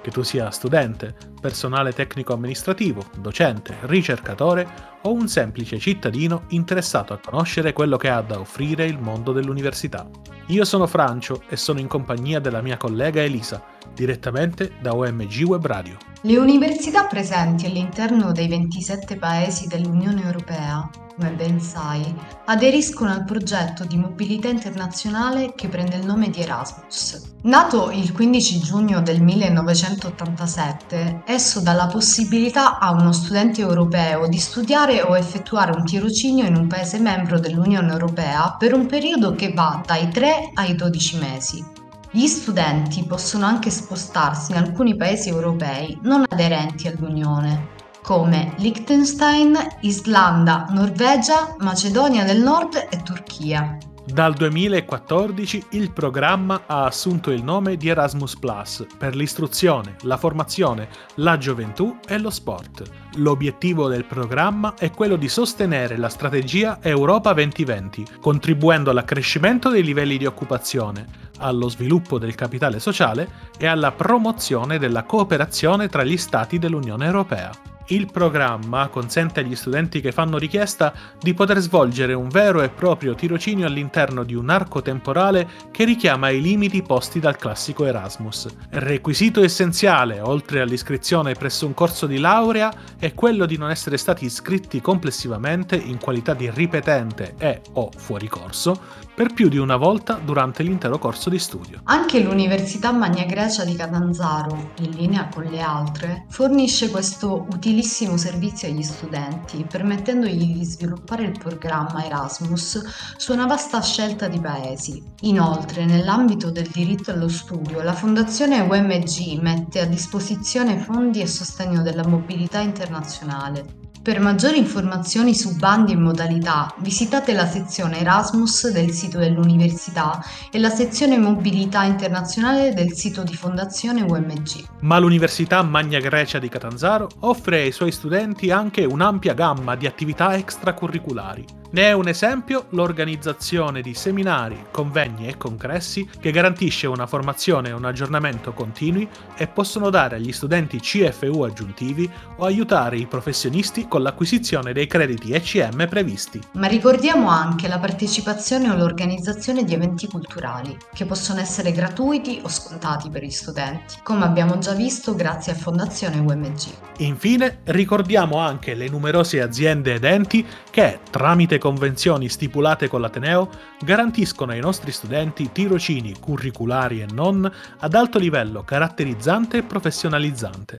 Che tu sia studente, personale tecnico-amministrativo, docente, ricercatore o un semplice cittadino interessato a conoscere quello che ha da offrire il mondo dell'università. Io sono Francio e sono in compagnia della mia collega Elisa, direttamente da OMG Web Radio. Le università presenti all'interno dei 27 paesi dell'Unione Europea, come ben sai, aderiscono al progetto di mobilità internazionale che prende il nome di Erasmus. Nato il 15 giugno del 1987, esso dà la possibilità a uno studente europeo di studiare o effettuare un tirocinio in un paese membro dell'Unione Europea per un periodo che va dai 3 ai 12 mesi. Gli studenti possono anche spostarsi in alcuni paesi europei non aderenti all'Unione, come Liechtenstein, Islanda, Norvegia, Macedonia del Nord e Turchia. Dal 2014 il programma ha assunto il nome di Erasmus Plus per l'istruzione, la formazione, la gioventù e lo sport. L'obiettivo del programma è quello di sostenere la strategia Europa 2020, contribuendo all'accrescimento dei livelli di occupazione, allo sviluppo del capitale sociale e alla promozione della cooperazione tra gli Stati dell'Unione Europea. Il programma consente agli studenti che fanno richiesta di poter svolgere un vero e proprio tirocinio all'interno di un arco temporale che richiama i limiti posti dal classico Erasmus. Requisito essenziale, oltre all'iscrizione presso un corso di laurea, è quello di non essere stati iscritti complessivamente in qualità di ripetente e o fuori corso per più di una volta durante l'intero corso di studio. Anche l'Università Magna Grecia di Catanzaro, in linea con le altre, fornisce questo utilissimo servizio agli studenti, permettendogli di sviluppare il programma Erasmus su una vasta scelta di paesi. Inoltre, nell'ambito del diritto allo studio, la Fondazione UMG mette a disposizione fondi a sostegno della mobilità internazionale. Per maggiori informazioni su bandi e modalità, visitate la sezione Erasmus del sito dell'università e la sezione Mobilità Internazionale del sito di Fondazione UMG. Ma l'Università Magna Grecia di Catanzaro offre ai suoi studenti anche un'ampia gamma di attività extracurriculari. Ne è un esempio l'organizzazione di seminari, convegni e congressi che garantisce una formazione e un aggiornamento continui e possono dare agli studenti CFU aggiuntivi o aiutare i professionisti con l'acquisizione dei crediti ECM previsti. Ma ricordiamo anche la partecipazione o l'organizzazione di eventi culturali, che possono essere gratuiti o scontati per gli studenti, come abbiamo già visto grazie a Fondazione UMG. Infine, ricordiamo anche le numerose aziende ed enti che, tramite convenzioni stipulate con l'Ateneo, garantiscono ai nostri studenti tirocini curriculari e non ad alto livello caratterizzante e professionalizzante.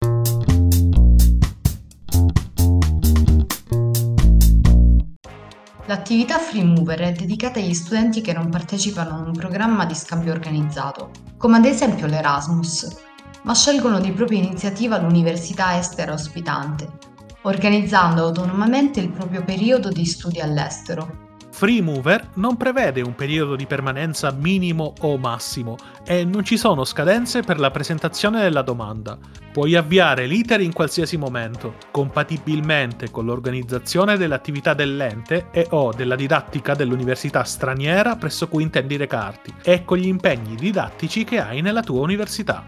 L'attività Free Mover è dedicata agli studenti che non partecipano a un programma di scambio organizzato, come ad esempio l'Erasmus, ma scelgono di propria iniziativa l'università estera ospitante, organizzando autonomamente il proprio periodo di studi all'estero. Free Mover non prevede un periodo di permanenza minimo o massimo e non ci sono scadenze per la presentazione della domanda. Puoi avviare l'iter in qualsiasi momento, compatibilmente con l'organizzazione dell'attività dell'ente e o della didattica dell'università straniera presso cui intendi recarti e con gli impegni didattici che hai nella tua università.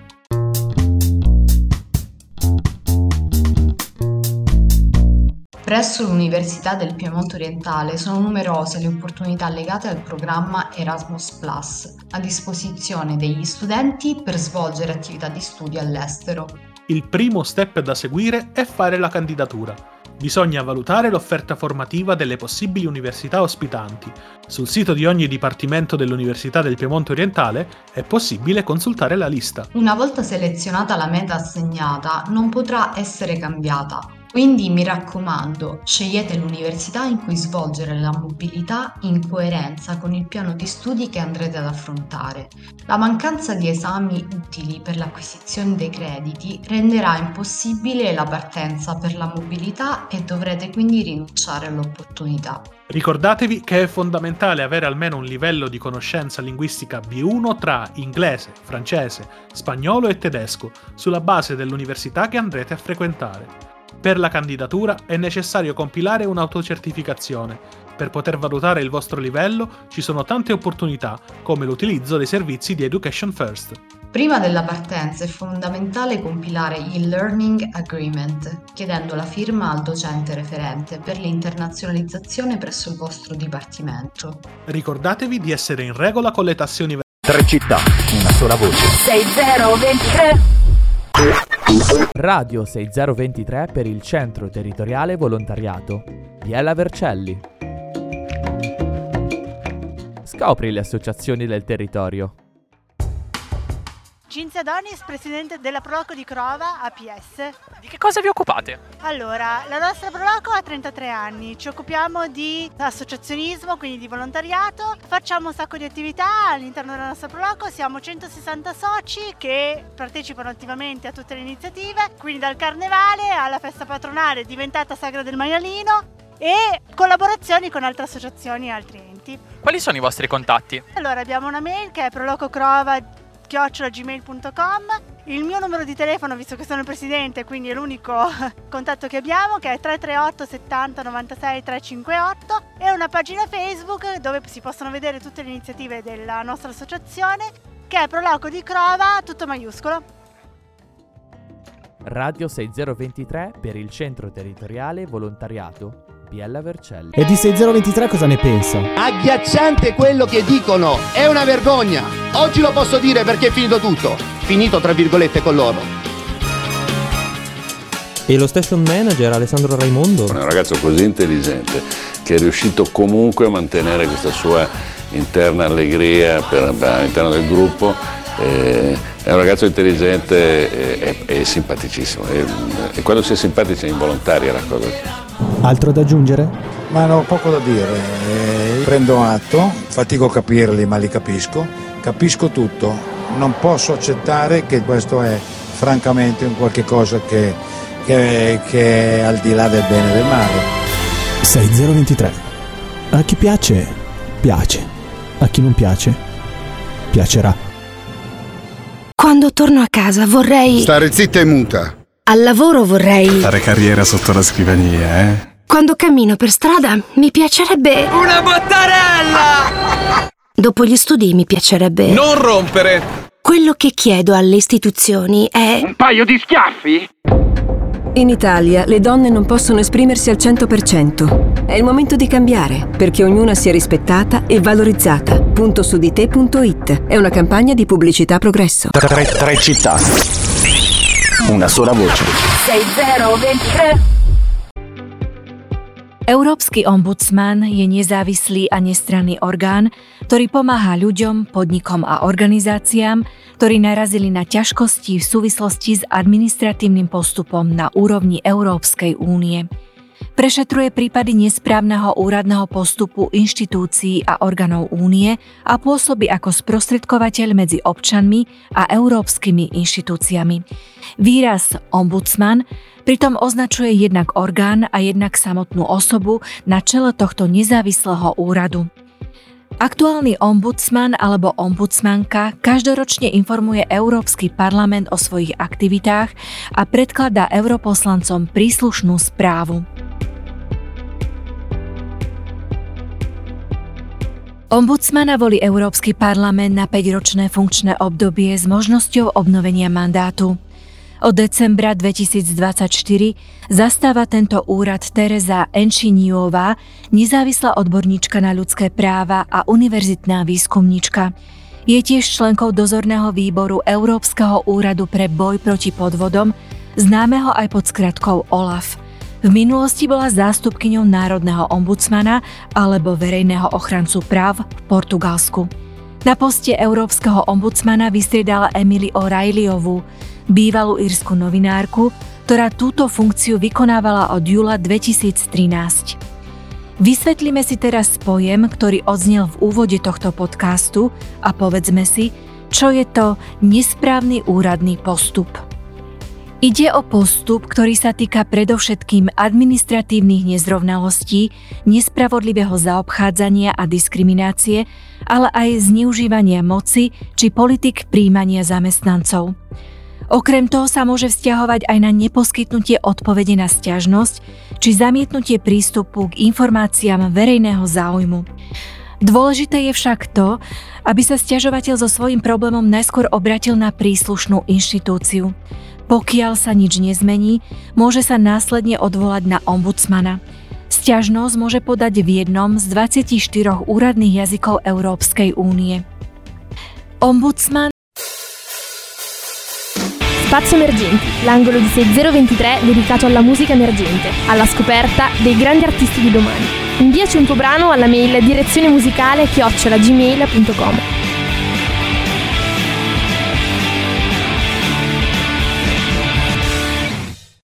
Presso l'Università del Piemonte Orientale sono numerose le opportunità legate al programma Erasmus Plus, a disposizione degli studenti per svolgere attività di studio all'estero. Il primo step da seguire è fare la candidatura. Bisogna valutare l'offerta formativa delle possibili università ospitanti. Sul sito di ogni dipartimento dell'Università del Piemonte Orientale è possibile consultare la lista. Una volta selezionata la meta assegnata, non potrà essere cambiata. Quindi mi raccomando, scegliete l'università in cui svolgere la mobilità in coerenza con il piano di studi che andrete ad affrontare. La mancanza di esami utili per l'acquisizione dei crediti renderà impossibile la partenza per la mobilità e dovrete quindi rinunciare all'opportunità. Ricordatevi che è fondamentale avere almeno un livello di conoscenza linguistica B1 tra inglese, francese, spagnolo e tedesco, sulla base dell'università che andrete a frequentare. Per la candidatura è necessario compilare un'autocertificazione. Per poter valutare il vostro livello ci sono tante opportunità, come l'utilizzo dei servizi di Education First. Prima della partenza è fondamentale compilare il Learning Agreement, chiedendo la firma al docente referente per l'internazionalizzazione presso il vostro dipartimento. Ricordatevi di essere in regola con le tasse universitarie. Tre città, una sola voce. 6023. Radio 6023 per il Centro Territoriale Volontariato. Biella Vercelli. Scopri le associazioni del territorio. Cinzia Donis, presidente della Proloco di Crova, APS. Di che cosa vi occupate? Allora, la nostra Proloco ha 33 anni, ci occupiamo di associazionismo, quindi di volontariato, facciamo un sacco di attività all'interno della nostra Proloco, siamo 160 soci che partecipano attivamente a tutte le iniziative, quindi dal carnevale alla festa patronale diventata Sagra del Maialino e collaborazioni con altre associazioni e altri enti. Quali sono i vostri contatti? Allora, abbiamo una mail che è prolococrova@gmail.com, il mio numero di telefono, visto che sono il presidente, quindi è l'unico contatto che abbiamo, che è 338 70 96 358, e una pagina Facebook dove si possono vedere tutte le iniziative della nostra associazione, che è Proloco di Crova, tutto maiuscolo. Radio 6023 per il Centro Territoriale Volontariato Biella Vercelli. E di 6023 cosa ne pensa? Agghiacciante quello che dicono, è una vergogna. Oggi lo posso dire perché è finito tutto. Finito tra virgolette con loro. E lo station manager Alessandro Raimondo? È un ragazzo così intelligente che è riuscito comunque a mantenere questa sua interna allegria all'interno del gruppo. È un ragazzo intelligente e simpaticissimo. E quando si è simpatici è involontaria la cosa. Altro da aggiungere? Ma no, poco da dire. Prendo atto, fatico a capirli, ma li capisco. Capisco tutto. Non posso accettare che questo è francamente un qualche cosa che è al di là del bene e del male. 6023. A chi piace, piace. A chi non piace, piacerà. Quando torno a casa vorrei... Stare zitta e muta. Al lavoro vorrei... Fare carriera sotto la scrivania, eh? Quando cammino per strada mi piacerebbe... Una bottarella! Dopo gli studi mi piacerebbe... Non rompere! Quello che chiedo alle istituzioni è... Un paio di schiaffi? In Italia le donne non possono esprimersi al 100%. È il momento di cambiare, perché ognuna sia rispettata e valorizzata. Puntosudite.it è una campagna di pubblicità progresso. Tre, tre città. Una sola voce. 6023. Európsky ombudsman je nezávislý a nestranný orgán, ktorý pomáha ľuďom, podnikom a organizáciám, ktorí narazili na ťažkosti v súvislosti s administratívnym postupom na úrovni Európskej únie. Prešetruje prípady nesprávneho úradného postupu inštitúcií a orgánov únie a pôsobí ako sprostredkovateľ medzi občanmi a európskymi inštitúciami. Výraz ombudsman pritom označuje jednak orgán a jednak samotnú osobu na čele tohto nezávislého úradu. Aktuálny ombudsman alebo ombudsmanka každoročne informuje Európsky parlament o svojich aktivitách a predkladá europoslancom príslušnú správu. Ombudsmana volí Európsky parlament na 5-ročné funkčné obdobie s možnosťou obnovenia mandátu. Od decembra 2024 zastáva tento úrad Tereza Enčiniová, nezávislá odborníčka na ľudské práva a univerzitná výskumníčka. Je tiež členkou dozorného výboru Európskeho úradu pre boj proti podvodom, známeho aj pod skratkou OLAF. V minulosti bola zástupkyňou národného ombudsmana alebo verejného ochrancu práv v Portugalsku. Na poste európskeho ombudsmana vystriedala Emily O'Reillyovú, bývalú írsku novinárku, ktorá túto funkciu vykonávala od júla 2013. Vysvetlíme si teraz pojem, ktorý odznel v úvode tohto podcastu a povedzme si, čo je to nesprávny úradný postup. Ide o postup, ktorý sa týka predovšetkým administratívnych nezrovnalostí, nespravodlivého zaobchádzania a diskriminácie, ale aj zneužívania moci či politik prijímania zamestnancov. Okrem toho sa môže vzťahovať aj na neposkytnutie odpovede na sťažnosť či zamietnutie prístupu k informáciám verejného záujmu. Dôležité je však to, aby sa sťažovateľ so svojím problémom najskôr obratil na príslušnú inštitúciu. Pokiaľ sa nič nezmení, môže sa následne odvolať na ombudsmana. Sťažnosť môže podať v jednom z 24 úradných jazykov Európskej únie. Ombudsman Spazio Emergenti, l'angolo di 6023 dedicato alla musica emergente, alla scoperta dei grandi artisti di domani. Inviaci un tuo brano alla mail direzionemusicale@gmail.com.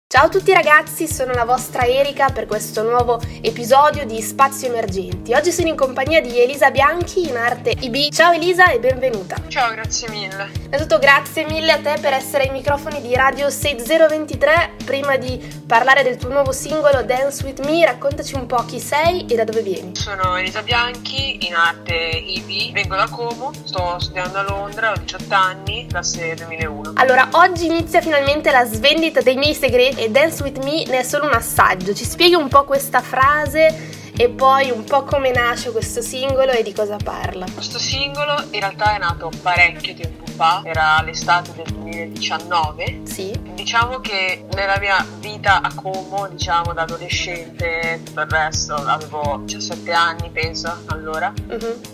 Ciao a tutti ragazzi, sono la vostra Erika per questo nuovo episodio di Spazio Emergenti. Oggi sono in compagnia di Elisa Bianchi, in arte IB. Ciao Elisa e benvenuta. Ciao, grazie mille. Innanzitutto grazie mille a te per essere ai microfoni di Radio 6023. Prima di parlare del tuo nuovo singolo Dance With Me, raccontaci un po' chi sei e da dove vieni. Sono Elisa Bianchi, in arte IB, vengo da Como, sto studiando a Londra, ho 18 anni, classe 2001. Allora, oggi inizia finalmente la svendita dei miei segreti e Dance With Me ne è solo un assaggio. Ci spieghi un po' questa frase e poi un po' come nasce questo singolo e di cosa parla? Questo singolo in realtà è nato parecchio tempo fa, era l'estate del 2019. Sì. Diciamo che nella mia vita a Como, diciamo da adolescente, tutto il resto, avevo 17 anni penso allora,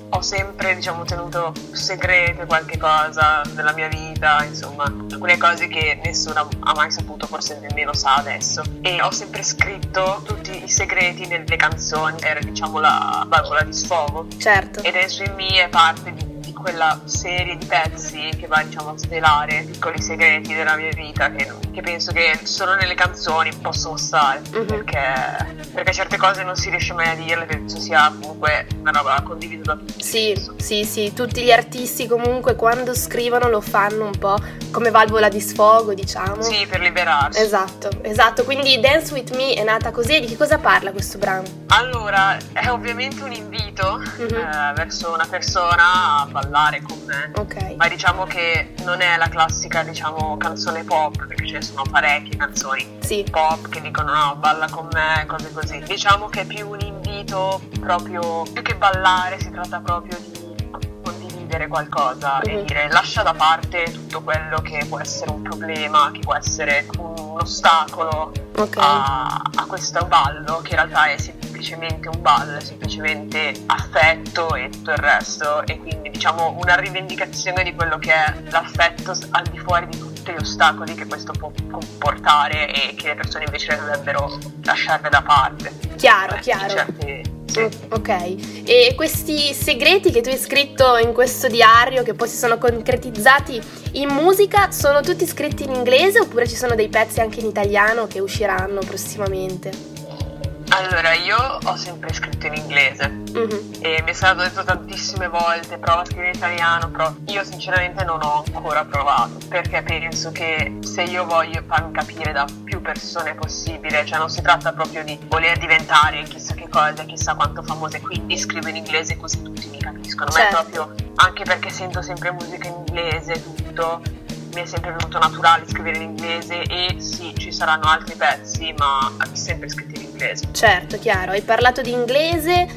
ho sempre diciamo tenuto segreto qualche cosa della mia vita, insomma alcune cose che nessuno ha mai saputo, forse nemmeno sa adesso, e ho sempre scritto tutti i segreti nelle canzoni, era diciamo la valvola di sfogo. Certo. E Dance With Me è parte di quella serie di pezzi che va diciamo a svelare piccoli segreti della mia vita che penso che solo nelle canzoni possono stare, perché certe cose non si riesce mai a dirle, penso sia comunque una roba condivisa da tutti. Sì, sì, sì, tutti gli artisti comunque quando scrivono lo fanno un po' come valvola di sfogo, diciamo. Sì, per liberarsi. Esatto, esatto, quindi Dance With Me è nata così. E di che cosa parla questo brano? Allora, è ovviamente un invito verso una persona a ballare con me. Ok. Ma diciamo che non è la classica, diciamo, canzone pop, perché ce ne sono parecchie canzoni pop che dicono no, balla con me, cose così. Diciamo che è più un invito proprio, più che ballare, si tratta proprio di condividere qualcosa e dire lascia da parte tutto quello che può essere un problema, che può essere un un ostacolo a questo ballo, che in realtà è semplicemente un ballo, è semplicemente affetto e tutto il resto, e quindi diciamo una rivendicazione di quello che è l'affetto al di fuori di tutti gli ostacoli che questo può comportare e che le persone invece dovrebbero lasciare da parte. Chiaro, chiaro. Certi, sì. Ok, e questi segreti che tu hai scritto in questo diario, che poi si sono concretizzati in musica, sono tutti scritti in inglese oppure ci sono dei pezzi anche in italiano che usciranno prossimamente? Allora, io ho sempre scritto in inglese e mi è stato detto tantissime volte prova a scrivere in italiano, però io sinceramente non ho ancora provato, perché penso che se io voglio farmi capire da più persone possibile, cioè non si tratta proprio di voler diventare chissà che cosa, chissà quanto famosa, quindi scrivo in inglese così tutti mi capiscono, ma è proprio anche perché sento sempre musica in inglese, tutto, mi è sempre venuto naturale scrivere in inglese e sì, ci saranno altri pezzi, ma sempre scritti in inglese. Certo, chiaro. Hai parlato di inglese,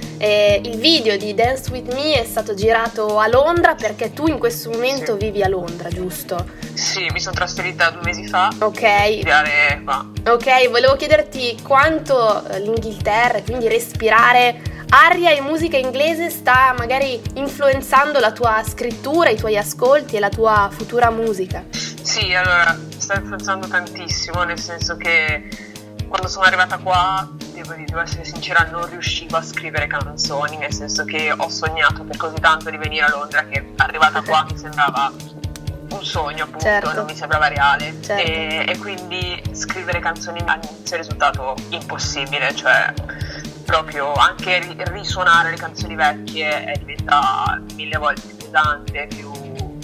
il video di Dance With Me è stato girato a Londra perché tu in questo momento vivi a Londra, giusto? Sì, mi sono trasferita 2 mesi fa. Ok. Per studiare qua. Ok, volevo chiederti quanto l'Inghilterra, quindi respirare aria e musica inglese, sta magari influenzando la tua scrittura, i tuoi ascolti e la tua futura musica. Sì, allora, sta influenzando tantissimo, nel senso che quando sono arrivata qua, devo essere sincera, non riuscivo a scrivere canzoni, nel senso che ho sognato per così tanto di venire a Londra che arrivata qua mi sembrava un sogno, appunto, Certo. non mi sembrava reale. Certo. E quindi scrivere canzoni all'inizio è risultato impossibile, cioè proprio anche risuonare le canzoni vecchie diventa 1000 volte più pesante, più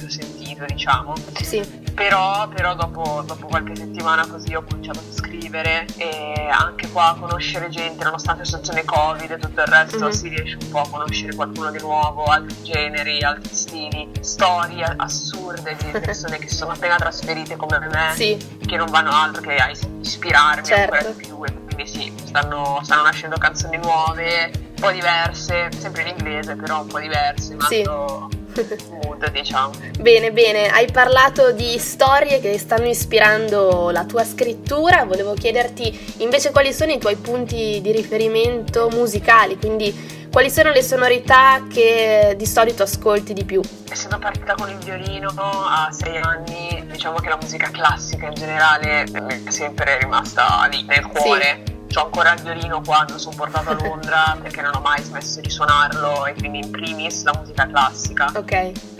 sentito, diciamo. Sì. Però dopo qualche settimana così ho cominciato a scrivere e anche qua a conoscere gente, nonostante la situazione Covid e tutto il resto, si riesce un po' a conoscere qualcuno di nuovo, altri generi, altri stili, storie assurde di persone che sono appena trasferite come me, sì, che non vanno altro che a ispirarmi certo, ancora di più. E quindi sì, stanno nascendo canzoni nuove, un po' diverse, sempre in inglese però un po' diverse, ma sì, mood, diciamo. Bene, bene, hai parlato di storie che stanno ispirando la tua scrittura, volevo chiederti invece quali sono i tuoi punti di riferimento musicali, quindi quali sono le sonorità che di solito ascolti di più? Essendo partita con il violino a 6 anni, diciamo che la musica classica in generale mi è sempre rimasta lì nel cuore. Sì. C'ho ancora il violino qua, me lo sono portato a Londra perché non ho mai smesso di suonarlo e quindi in primis la musica classica. Ok.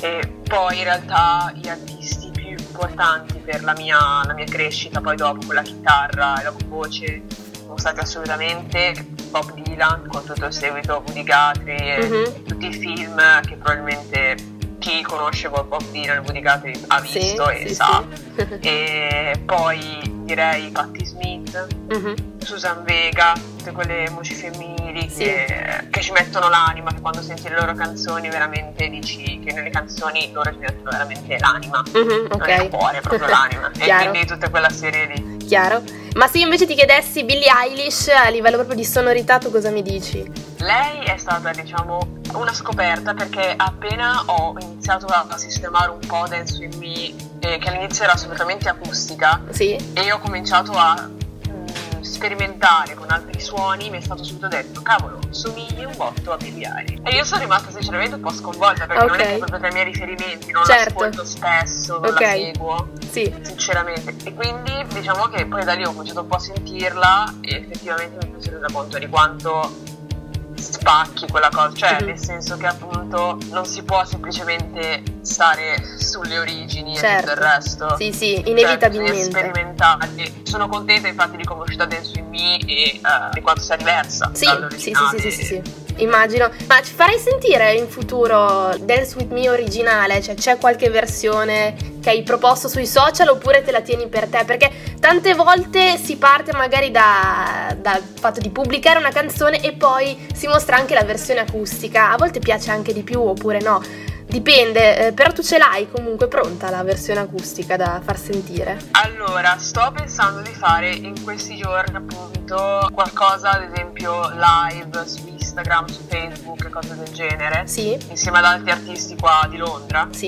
E poi in realtà gli artisti più importanti per la mia crescita, poi dopo con la chitarra e la voce, sono stati assolutamente Bob Dylan con tutto il seguito, Woody Guthrie e tutti i film che probabilmente chi conosce Bob Dylan e Woody Guthrie ha visto, sì, e sì, sa. Sì. E poi direi Patti Smith, Susan Vega, tutte quelle voci femminili sì, che ci mettono l'anima, che quando senti le loro canzoni veramente dici che nelle canzoni loro ci mettono veramente l'anima, non è il cuore, è proprio l'anima. E quindi tutta quella serie lì. Chiaro. Ma se io invece ti chiedessi Billie Eilish a livello proprio di sonorità, tu cosa mi dici? Lei è stata, diciamo, una scoperta perché appena ho iniziato a sistemare un po' Dance With Me, che all'inizio era assolutamente acustica, sì, e ho cominciato a sperimentare con altri suoni, mi è stato subito detto: cavolo, somigli un botto a Billie Eilish. E io sono rimasta sinceramente un po' sconvolta perché non è che proprio tra i miei riferimenti, non l'ascolto spesso, non la seguo, sì, sinceramente. E quindi diciamo che poi da lì ho cominciato un po' a sentirla e effettivamente mi sono resa conto di quanto spacchi quella cosa, cioè nel senso che appunto non si può semplicemente stare sulle origini, certo, e tutto il resto. Sì, sì, inevitabilmente. Cioè, sperimentare. Sono contenta infatti di come è uscita Dance With Me e di quanto sia diversa sì, dall'originale. Sì. Immagino. Ma ci farei sentire in futuro Dance With Me originale? Cioè, c'è qualche versione che hai proposto sui social oppure te la tieni per te? Perché tante volte si parte magari dal fatto di pubblicare una canzone e poi si mostra anche la versione acustica. A volte piace anche di più oppure no. Dipende, però tu ce l'hai comunque pronta la versione acustica da far sentire? Allora, sto pensando di fare in questi giorni appunto qualcosa, ad esempio live su Instagram, su Facebook e cose del genere. Sì. Insieme ad altri artisti qua di Londra. Sì.